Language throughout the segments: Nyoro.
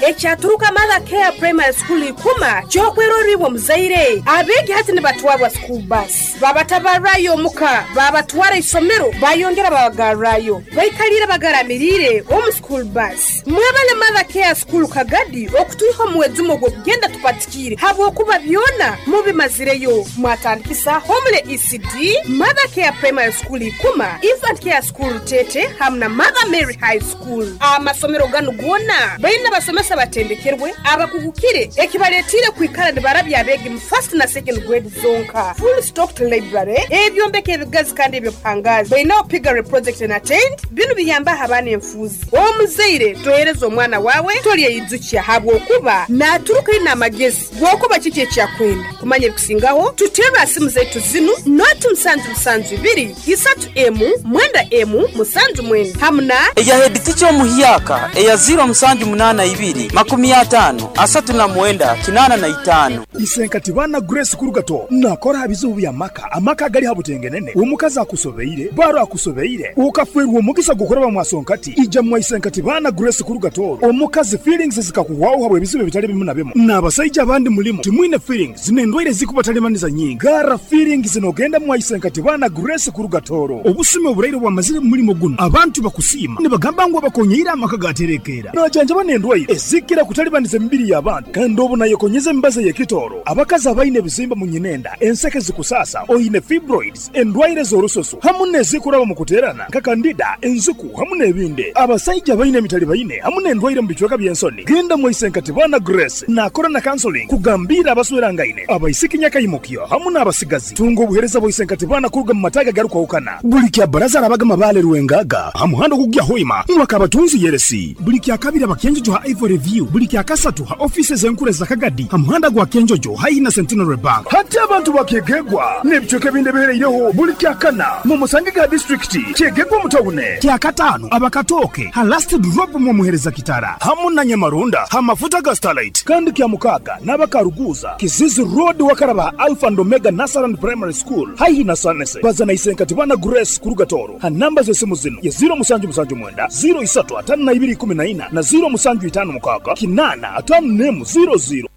Ekyaturuka Mother Care Primary School Ikuma ky'okwerorra iwe omuzaire. Abeegi hati nibatwarwa school bus, babatabarrayo omuka, babatwara isomero, bayongera babagarrayo. Baikaliire bagaramiriire omu school bus. Mwebale Mother Care School Kagadi okutwiha omu mwejumo gw'okugenda tupatikiire habwokuba byona mubimazireyo. Mwatandikisa Homely ECD, Mother Care Primary School Ikuma, Infant Care School Rutete hamu na Mother Mary High School. Amasomero ganu goona baine abasomesa abatendekerwe, abakugukire ekibaletiire kwikara nibarabya abeegi mu first na second grade zonka. Full stocked library, ebyombeko ebigazi kandi eby'obuhangaazi. Baineho piggery project na tent, binu biyambaho abaana enfuuzi. Omuzaire tohereza omwana waawe tolyeyijukya habwokuba naaturuka aine amagezi g'okuba kiki eki akwenda. Kumanya ebikusingaho, tuterre ha simu zaitu zinu, noti musanju musanju ibiri, isatu emu, mwenda emu, musanju mwenda hamu na. Eya hediticha omuhyaka eya ziiro musanju munaana ibiri, makumi ataano, asatu na mwenda, kinaana na itaano. Isenkati baana Grace Kurugato nakora ha bizibu by'amaka, amaka agali ha butengenene, omukazi akusobeire, baro akusobeire, okafwerwa omugisa gw'okuraba mwa Sonkati, ija mwa Isenkati baana Grace Kurugato, omukazi feelings zikakuhwaho habw'ebizibu ebitali bimu na bimu, n'abasaija abandi mulimu timwine feelings n'endwaire ezikubatalibaniza nyingi, garra feelings n'ogenda mwa Isenkati baana Grace Kurugatoro. Obusumi oburaire obwamazire mu mulimo gunu, abantu bakusiima nibagamba ngu abakonyeire amaka gaterekeera. Najanjaba n'endwaire ezikira kutalibaniza emibiri y'abantu kandi obu nayekonyeza emibazi ey'ekitooro. Abakazi abaine ebizimba mu nyinenda, enseke zikusaasa, oine fibroids, endwaire z'orususu hamu n'ezikuraba mu kuteerana nka kandida, enziku hamu n'ebindi. Abasaija abaine emitalibaine hamu n'endwaire mu bicweka by'ensoni, genda mwaise nka Tibana Grace naakora na counseling kugambiira abaswerangaine, abaisiki nyakaimukyo hamu n'abasigazi. Tunga obuheereza bwa Isenkatibana kuruga mu mataagi agarukwahukana. Buli kya Bbaraza arabaga Mabaale Rwengaga ha muhanda ogukugya Hoima mwa Kabatunzi Yeresi. Buli kya Kabiri aba Kyenjojo ha Ivory View. Buli kya Kasatu ha ofiisi ez'enkuru eza Kagadi ha muhanda gwa Kyenjojo haihi na Centenary Bank. Hati abantu ba Kyegegwa n'ebicweka ebindi ebihereireho buli kya Kana mumusangege ha disiturikiti Kyegegwa omu tawune. Kya Kataano aba Katooke ha Last Drop mwomuhereza Kitara hamu na Nyamarunda ha mafuta ga Starlight. Kandi kya Mukaaga n'aba Karuguuza, Kizizi Road wakaraba ha Alpha and Omega Nursery and Primary School haihi na Sanese. Baza na Isenkati Bana Grace kuruga Tooro ha namba z'esimu zinu ye ziiro musanju musanju mwenda, ziiro isatu ataano na ibiri ikumi na ina na ziiro musanju itaano mukaaga kinaana ataano n'emu ziiro ziiro.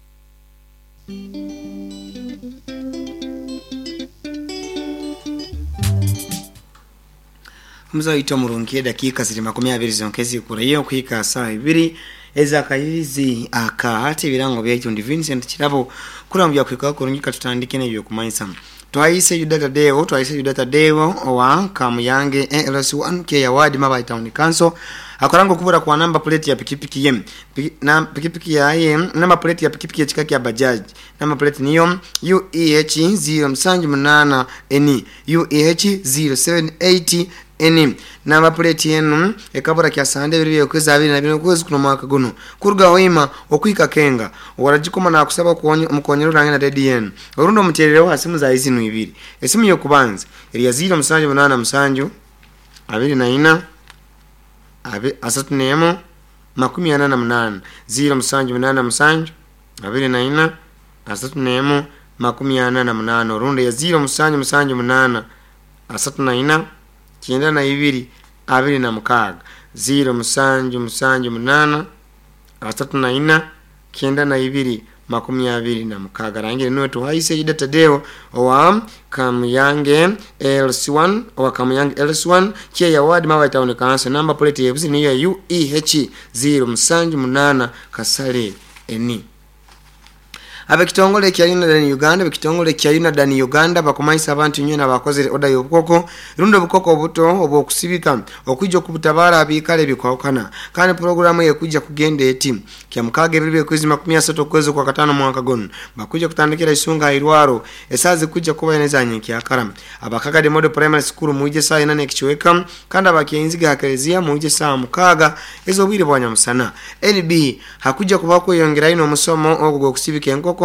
Omuze waitu omurungi edakiika ziri makumi abiri zonka ezikurayo okuhika saawa ibiri ez'akairirizi aka hati ebirango byaitu ndi Vincent Kirabo kuraba byakuhikaho kurungi katutandike n'ebyokumanyisa Twaise Yuda Tadeo Twaise Yuda Tadeo owa Kamuyange ALC1 Kyeya Ward Mabayi Town Council akoranga okubura kwa namba puleti ya pikipiki ye na pikipiki yaye namba puleti ya pikipiki ekika kya Bajaj namba puleti niyo UEH 078 N UEH 078 N Namba puleti enu ekabura kya Sande ebiro by'okwezi abiri na bina okwezi kuno omwaka gunu kuruga Hoima okuhika Kenga. Owaragikoma nakusaba omukonyere orange na rediyo enu orundi omuterereho ha simu zaye zinu ibiri. Esimu y'okubanza eri ya ziiro musanju munaana musanju abiri na ina asatu n'emu makumi ana na munaana, ziiro musanju munaana musanju abiri na ina asatu n'emu makumi ana na munaana orundi ya ziiro musanju musanju munaana asatu na ina kyenda na ibiri abiri na mukaaga, ziiro musanju musanju munaana asatu na ina kyenda na ibiri makumi abiri na mukaaga. Rangire nuwe Tuhaise Yuda Tadeo owa Kamuyange LC1 owa Kamuyange LC1 Kyeya Ward Mabayi Town Council namba puleti y'ebuzi niyo ya UEH 078 Kasale N. Ab'ekitongole kya Unadan Uganda Ab'ekitongole kya Unadan Uganda bakumanyisa abantu inywena abakozere oda y'obukoko rundi obukoko obuto obw'okusibika okwija okubutabaara habiikaro ebikwahukana kandi puroguramu eyo ekwija kugenda eti Kyamukaaga ebiro by'okwezi makumi asatu okwezi okwakataano omwaka gunu bakwija kutandikira Isunga hairwaro esaaha zikwija kuba ina eza nyenkyakara. Aba Kagadi Model Primary School mwije saaha ina n'ekicweka kandi aba Kyeinziga ha Kelezia mwije saaha mukaaga ez'obwire bwa nyamusana. NB, Hakwija kubaho kweyongerayo n'omusomo ogu gw'okusibika enkoko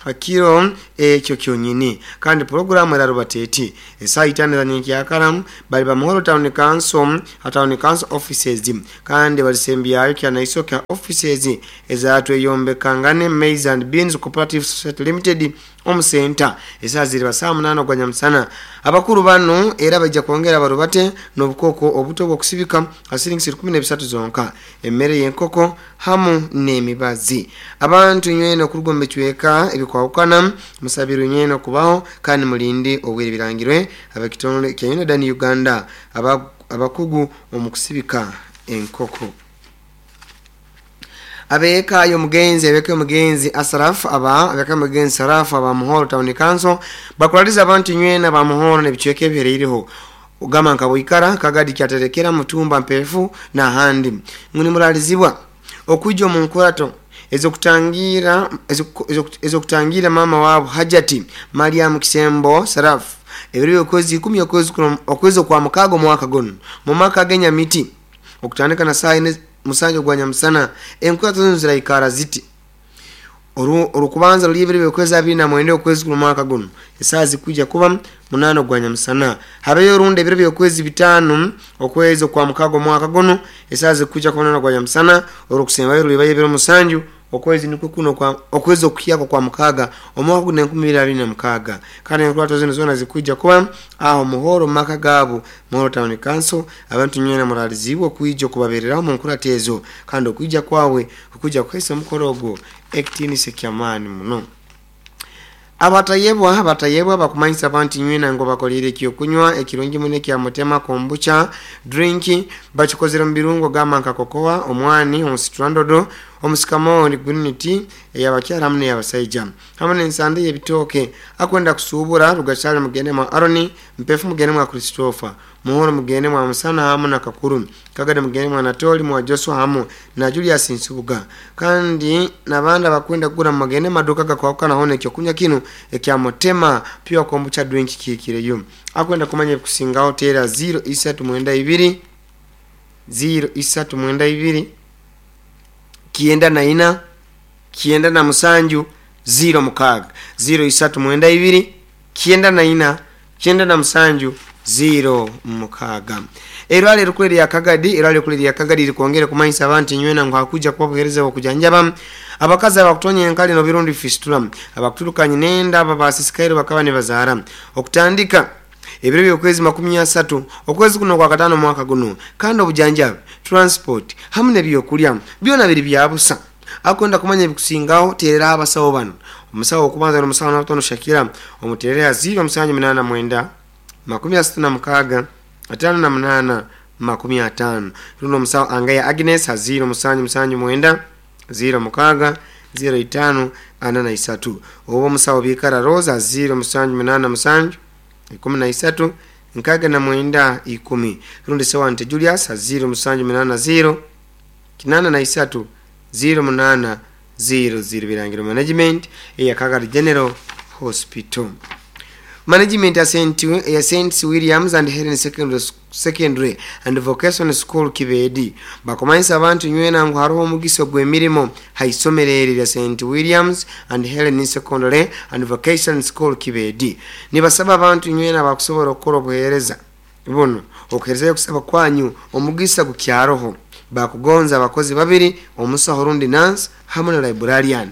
ha kiro ekyo kyonyini. Kandi puroguramu erarubata eti, Esaaha itaano eza nyenkyakara baliba Muhoro Town Council ha Town Council Offices kandi balisembyayo Kyanaisoke ha offices eza Tweyombekangane Maize and Beans Cooperative Society Limited. Omusenta esaa ziri basaa 8 gwa nyamusana. Abakuru bano era bajja kwongera barubate n'obukoko obuto bw'okusibika asiringi 13 zonka, emmere y'enkoko hamu n'emibazi. Abantu nywena okuruga omu bicweka ebikwahukana musabirwe nywena okubaho kandi mulinde obwire. Birangirwe ab'ekitongole kya Unadan Uganda abakugu omu kusibika enkoko. Abeka y'omugenzi abeka y'omugenzi Asraf aba abeka y'omugenzi Saraf aba Muhoro Town Council bakulaliza abantu nywena ba Muhoro n'ebicweka ebihereireho ogamba nka Bwikara, Kagadi, Kyaterekera, Mutumba, Mpefu n'ahandi ngu nimuralizibwa okwijja omu nkurato ezokutangira mama wabo Hajati Mariam Kisembo Saraf ebiro by'okwezi 10 okwezi okwa mukaaga omwaka guno mu maka g'enyamiti okutandika na saa 4:07 gwa nyamusana. Enkurato zino ziraikara ziti: orukubanza ruli ebiro by'okwezi 29 okwezi kuno mwaka guno esaa zikuija kuba 8 gwa nyamusana. Habeyo orundi ebiro by'okwezi 5 okwezi okwa mukaaga omwaka guno esaa zikuija kuba 8 gwa nyamusana. Orukusembayo rulibayo ebiro 7 okwezi nikwo kuno kwa okwezi okuyako kwa mukaaga omwaka guno 2026. Kandi enkurato zino zona zikuija kuba aho Muhoro maka gabo Muhoro Town Council. Abantu nywena muralizibwa okuija okubabereraho mu nkurato ezo, kandi okuija kwawe okuija kuhaisa omukoro ogwo ekitiinisa ky'amaani muno. Abatayebwa bakumanyisa abantu nywena ngo bakolire ekyokunywa ekirungi muno ekya Mutema kombucha drink, bakikozere mu birungo gamba nka kokoa, omwani, omusitrandodo, omusikamoni, green tea ey'abakyala hamu n'ey'abasaija hamu n'ensande y'ebitooke. Akwenda kusuubura Rugachale mugende mwa Aroni, Mpefu mugende mwa Christopher, Muhoro mugende mwa Musana hamu na Kakuru, Kagade mugende mwa Natoli mwa Joshua hamu na Julius Nsubuga. Kandi n'abandi abakwenda kugura mugende maduka gakwahukana hona ekyokunywa kinu ekya Mutema pure kombucha drink kikireyo. Akwenda kumanya ebikusingaho tera 0392 0392 94 97 06 0392 94 97 06. Erwale rukuru lya Kagadi, erwale rukuru lya Kagadi likwongera kumanyisa abantu nywena ngo hakuja kuba buhereza okujanjaba abakazi abakutonya enkali no birundi fistula, abakuturukanye nenda, abasisikairo bakaba nibazaara okutandika ebiro by'okwezi 30 okwezi kuno kwa katano mwaka guno. Kandi obujanjabi, transport hamu n'ebyokulya byona biri byabusa. Akwenda kumanya ebikusingaho terera abasawo bano: omusawo okubanza n'omusawo Natono Shakira omuterera 0789 36 58 50. Runo omusawo Angaya Agnes 0779 06 05 43. Oba omusawo Bikara Rosa 0787 13 69 10. Rundi Sewante Julius 0780 83 08 00. Birangiro Management eya Kagadi General Hospital. Management ya St. Williams and Helen Secondary and Vocational School Kibedi bakumanyisa abantu nywena ngu hariho omugisa gw'emirimo haisomero eri lya St. Williams and Helen Secondary and Vocational School Kibedi. Nibasaba abantu nywena bakusobola okukora obuheereza buno okuherezayo okusaba kwanyu omugisa gukyaroho. Bakugonza abakozi babiri, omusaho rundi nurse hamu na librarian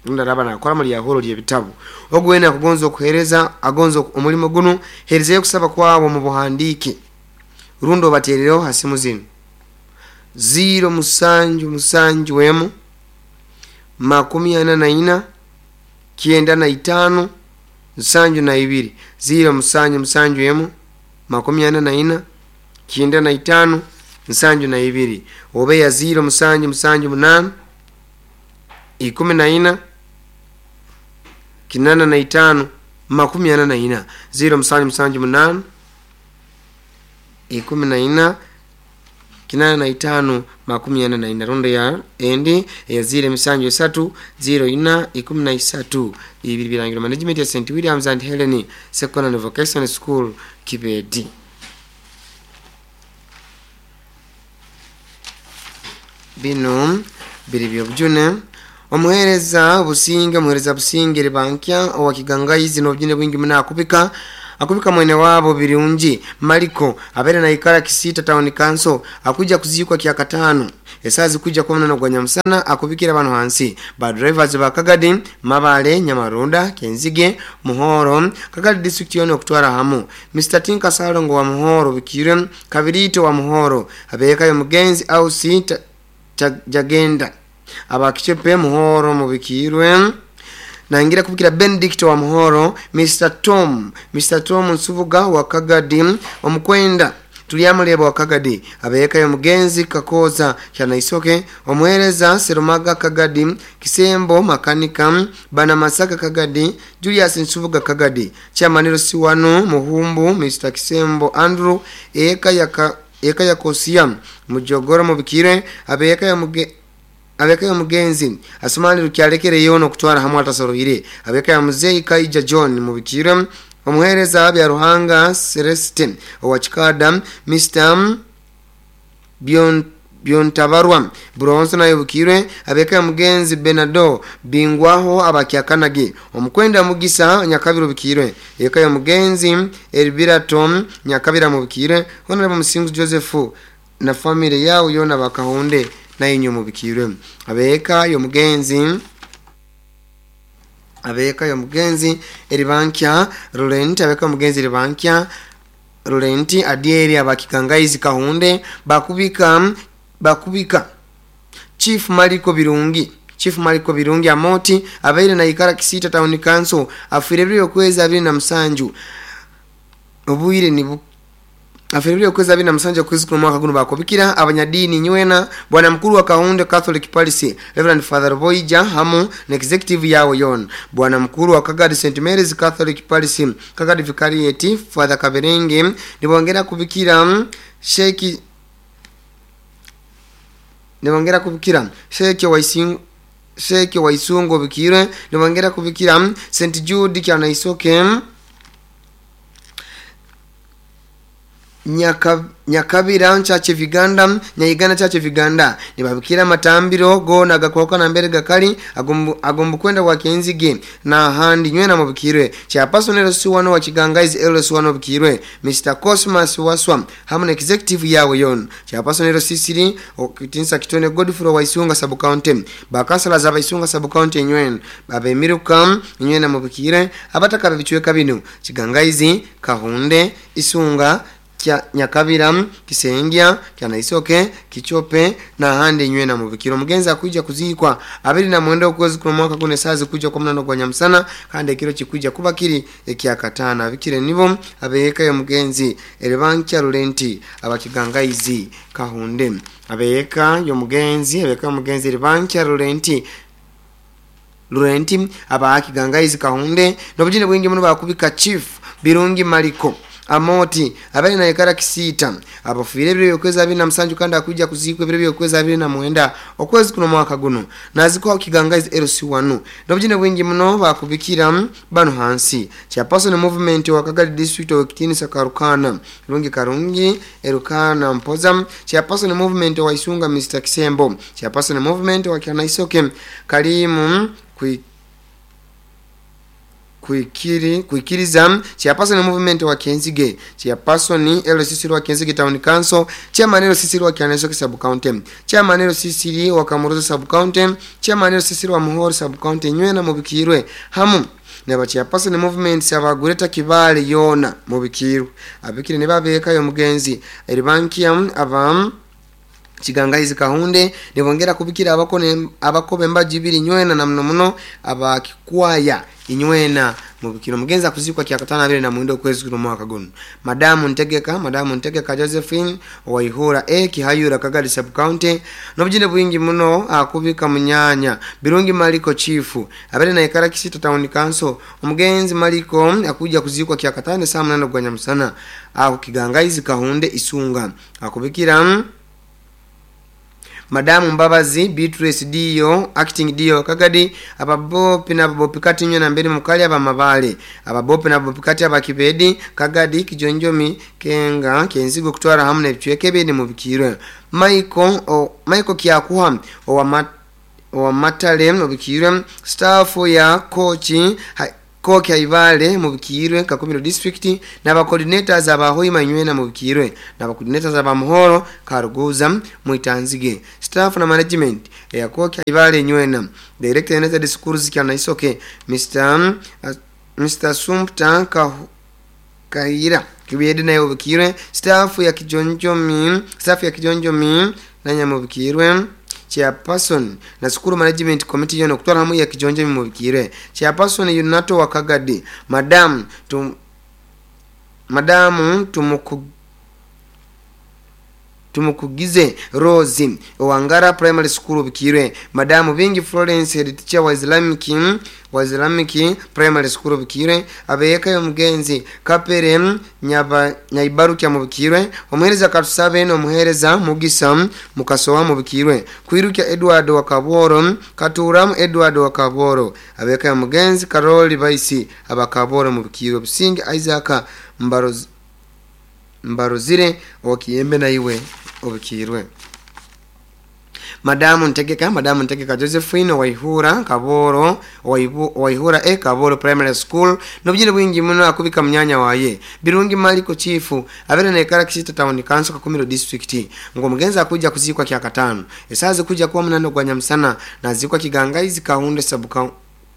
ndaraba nakora muri yahoro ly'ebitabo. Ogwena kugonza okuhereza agonza omulimo guno herezayo kusaba kwabo mu buhandike rundo baterereho hasimu zino 0771 44 95 72 0771 44 95 72 oba ya 0778 14 85 44 0778 14 85 44. Rondo ya endi ya 073 04 13. Ibi birangiro Management ya St. Williams and Helen Secondary Vocational School Kibedi. Bino biri byobujune. Omuhereza Businge ribankya owa Kigangaizi n'obujune bwingi muna akubika mwene wabo birungi Mariko abere na ikara Kisita Town Council akuja kuzikwa kya katano Esazi kuja kwa mnano gwa nyamusana akubikira bano hansi. Ba drivers ba Kagadi, Mabale, Nyamarunda, Kenzige, Muhoro, Kagadi district yone okutwara hamu. Mr. Tinka Salongo wa Muhoro bikire, Kabirito wa Muhoro, abeka yo mugenzi au si jagenda. Abakichepe Muhoro mubikirwe. Naingira kubikira Benedict wa Muhoro, Mr. Tom Nsubuga wa Kagadi, omukwenda Tuliyamuleba wa Kagadi, abeka yo mugenzi Kakoza Kyanaisoke, omuhereza Serumaga Kagadi, Kisembo Makanika, Bana Masaka Kagadi, Julius Nsubuga Kagadi, Chairman Siwanu Muhumbu, Mr. Kisembo Andrew, eka ya Kosia, Mujogoro mubikire, abeka ya mugenzi Asumani Rukyalekere yono kutwara hamwe atasoroire, abeka ya muzei Kaija John mubikire, omuhereza bya Ruhanga Celestin owachikada, Mr. Biontabarwa Bronze na yubukire, abeka ya mugenzi Benado Bingwaho abakyakanage, omukwenda Mugisa Nyakabiro bukire, eka ya mugenzi Elvira Tom Nyakabira mubukire, Honorable Musingu Joseph na family yao yona bakahonde na inyo mubikire, abeka yo mugenzi Eribankya Rulenti, abeka mugenzi Eribankya Rulenti Adieri abakikangaizi Kahunde, bakubika Chief Maliko Birungi Amoti abaire na ikara Kisita Town Council, afire byo kweza 27 obuire ni afiribyo kweza 27 kwezi kwa mwaka guno bakobikira abanyadini nywena bwana mkuru wa Kahunde Catholic Parish Reverend Father Boija hamu na executive yao yon, bwana mkuru wa Kagadi St Mary's Catholic Parish Kagadi Vicariate Father Kaberenge, nibongera kubikira Sheikh Waisungo bikire, nibongera kubikira St Jude Kyanaisoke Nyakabira Church of Uganda, Nyaigana Church of Uganda, nibabikira matambiro gona gakoka na mbere gakali agombu kwenda wa Kenzige na handi nywena mubikirwe. Chairperson LC1 wa Kigangaizi LC1 bikirwe, Mr. Cosmas Waswa hamu na executive yawe yon. Chairperson LC3 okitinsa Kitone Godfrey wa Isunga sub county, bakansala za Isunga sub county nywena babemiruka nywena mubikire abataka bichweka binu Kigangaizi Kahunde Isunga Kya Nyakabira Kisengya Kyanaisoke Kichope na handi nywena mubikiro. Mugenzi akuja kuzikwa 29 okwezi kwa mwaka kune sazi kuja kwa mnano kwa nyamsana kandi ekiro kikuja kuba kiri ekyakatana abikire nibo abeka yo mugenzi Eribankya Rulenti abakigangaizi Kahunde, abeka yo mugenzi Eribankya Rulenti abakigangaizi Kahunde nobujine bwingi muno bakubika Chief Birungi Maliko Amoti abali na ikara Kisita abafire byo kweza 27 kandi akuja kuzikwa byo kweza 29 okwezi kuno mwaka guno naziko Kigangaizi LC1 nobujine bwingi muno bakubikira bano hansi. Chairperson movement wa Kagadi district wa Kitini Sakarukana Rungi Karungi Erukana Mpoza, Chairperson movement wa Isunga Mr. Kisembo, Chairperson movement wa Kyanaisoke Karimu kuikiriza, Chairperson movement wa Kenzige, Chairperson LCC wa Kenzige Town Council, Chairman LCC wa Kyanaisoke Sub County, Chairman LCC wa Kamuruza Sub County, Chairman LCC wa Muhoro Sub County nywena mubikirwe hamu naba Chairperson movement sabagureta Kibale yona mubikirwe abikire nibabeka yo mugenzi Eribankia avam Kigangaizi Kahunde, nibongera kubikira abakobe mbaji nywena na mno muno abakikwaya inywena mubikiro. Mugenzi akuzikwa kyakatana 29 okwezi kuno mwaka guno. Madamu Ntegeka Josephine Waihura Kihayura Kagadi sub county nobujine bwingi muno akubika munyanya Birungi Maliko Chief abere na ikara Kisita Town Council. Omugenzi Maliko akuja kuzikwa kyakatana saa 8 gwa nyamusana ako Kigangaizi Kahunde Isunga akubikira Madamu Mbabazi Beatrice Dio acting Dio Kagadi, ababopi na ababopi kati nyo na mbere mukali aba mabale ababopi na ababopi kati abakibedi Kagadi Kijonjomi Kenga Kenzigo kutwara hamu na bichweke bene mubikirwe. Michael Kyakuha owa matale mubikirwe, staff ya Koki Aibale mubikirwe Kakumiro district, n'aba coordinators aba Hoima Nywena mubikirwe, n'aba coordinators aba Muhoro Karuguza Mwitanzige, staff na management ya Koki Aibale Nywena, director United Schools Kyanaisoke Mr Sumpta Kahira Kibiyede naye obikirwe, staff ya Kijonjomi nanya mubikirwe, chairperson na school management committee yono kutwala hamu ya Kijonjomi mubikirwe, chairperson Yunato Wakagadi, madamu Tumukugize Rose Wangara Primary School bikirwe, madamu Bingi Florence head teacher wa Islamic Primary School bikirwe, abeyeka yomugenzi Kapere Nyaibarukya mubikirwe, omuhereza Katusabe n'omuhereza Mugisa Mukasowa mubikirwe, Kwirukya Edward Wakaboro, Katuramu Edward Wakaboro, abeyeka yomugenzi Karoli Baisi abakaboro mubikirwe, Busingi Isaac Mbarozire wakiyembe na iwe obikirwe. Madamu Ntegeka Josephine Waihura Kaboro Waihura Kaboro Primary School nobujire bwingi muno akubika mnyanya waye Birungi Maliko chifu abere na ekara Kisita Town Council Kakumiro District, ngo mugenza akuja kuzikwa kya katano esaze kuja kuwa munano gwa Nyamsana na zikwa Kigangaizi Kahunde sabuka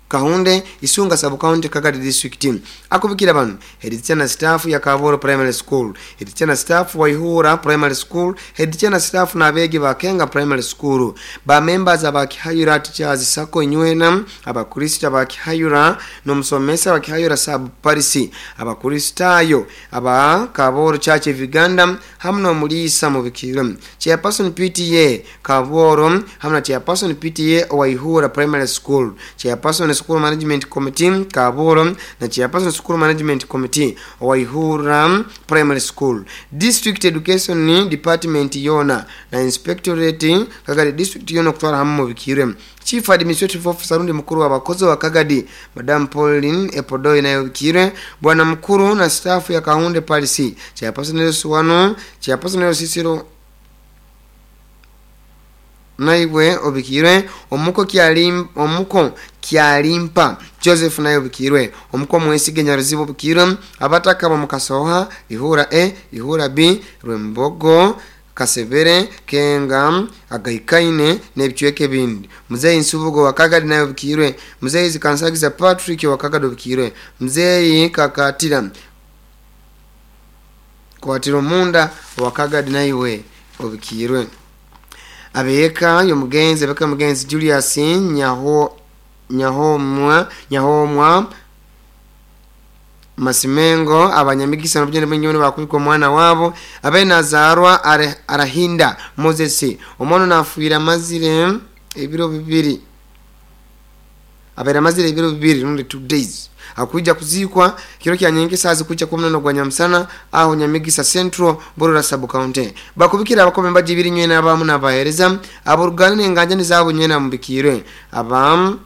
Kahunde Isunga sub county Kagadi district. Akubikira bano head teacher na staff ya Kaboro Primary School, head teacher na staff Waihura Primary School, head teacher na staff na abegi ba Kenga Primary School, ba members aba Kihayura Teachers Sacco Nywena, abakristo aba Kihayura n'omusomesa wa Kihayura sub Paris, abakristayo aba Kaboro Church of Uganda hamwe n'omulisa mubikiro, chairperson PTA Kaboro hamwe na chairperson PTA Waihura Primary School, chairperson School Management Committee Kaboro na chairperson School Management Committee Waihura Primary School, District Education Department yona na Inspectorate Kagadi District yona kutwala hamwe mubikirwe, Chief Administrative Officer rundi mukuru w'abakozi wa Kagadi Madam Pauline Epodoi nayo bikirwe, bwana mukuru na staff ya Kahunde Paris, chairperson Yesu chairperson Sisiro naiwe obikirwe, omuko Kyalimpa Joseph naye obikirwe, omuko Mwesige Nyaruzibo obikirwe, abataka bamukasoha Ihura A, Ihura B, Rwembogo, Kasebere, Kenga, Agaikaine n'ebicweke bindi. Muzeyi Nsubugo wa Kagadi naye obikirwe, Muzeyi Zikansagiza Patrick wa Kagadi obikirwe, Muzeyi Kakatira Kwatiro Munda wa Kagadi naiwe obikirwe. Abeka yomugenzi abeka mugenzi Julius Nyahomwa Masimengo abanyamigisa n'obugende bw'ennyoni bakubikwa omwana wabo abe nazarwa arahinda Moses omwana nafuira mazire ebiro bibiri abera mazire ebiro bibiri rundi 2 days akuja kuzikwa kiro kya nyingi sazi kuja kwa mnano gwa Nyamsana aho Nyamigisa Central Borora sub county bakubikira abakome mbajibiri nywe n'abamu n'abahereza aborugana n'enganja nizabo nywe namubikirwe abam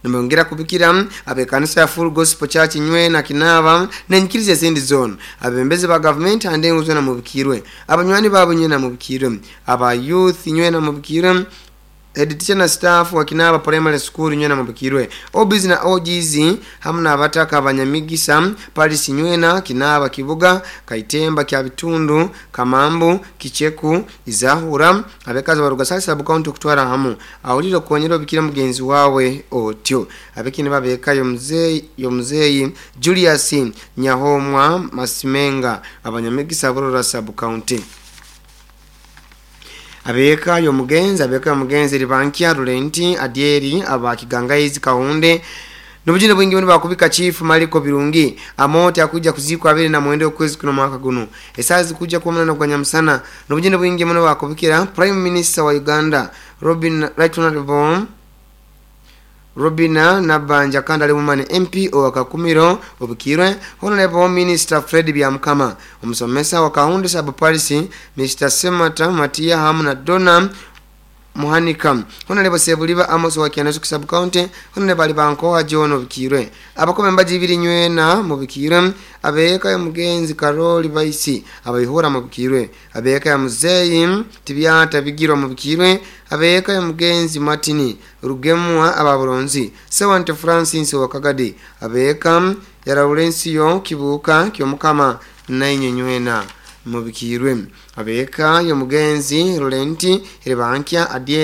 nimongera kubikira abekanisa ya Full Gospel Church nywe na Kinaba nenyikirize zindi zone abembezi ba government ande nguzwe na mubikirwe abanywani babo nywe na mubikirwe aba youth nywe na mubikirwe head teacher na staff wa Kinaba Primary School nywe na mubikirwe OBs na OGs hamwe n'abataka abanyamigisa Paris nywe na Kinaba Kibuga Kaitemba kya Bitundu Kamambu Kicheku Izahura abekazi baruga sub county kutwara hamu awuliro konyero bikira mugenzi wawe otyo abekini babeka yomzeyi Julius Nyahomwa Masimenga abanyamigisa Borora sub county abeka yomugenzi ribankia Rulenti Adieri abakigangaizi Kahunde nubujine bwingi buni bakubika chief Maliko Birungi amote akuja kuzikwa abiri na mwende okwezi kuno mwaka guno esazi kuja kwa mwana kwa Nyamsana nubujine bwingi buni bakubikira Prime Minister wa Uganda Robin Right Honorable Robina Nabanja kanda ali MP owa Kakumiro obukirwe Honorable Minister Fred Byamukama omusomesa wa Kahunde sub Paris Mr Semata Matia hamu na Donna Muhanika Honorable Sebuliba Amos wa Kianasu Sub County. Honorable Alibankoha John Obikirwe, abakobe mbaji ibiri nywena mubikirwe, abeeka ya mugenzi Karoli Baisi abaihura mubikirwe, abeeka ya muzeyi Tibyata Bigirwa mubikirwe, abeeka ya mugenzi Martini Rugemwa ababuronzi Sewante Francis wa Kagadi, abeeka ya Laurencio Kibuka Kyomukama nainye nywena mubikirwe, abeeka ya mugenzi Laurenti Rebankia Adie.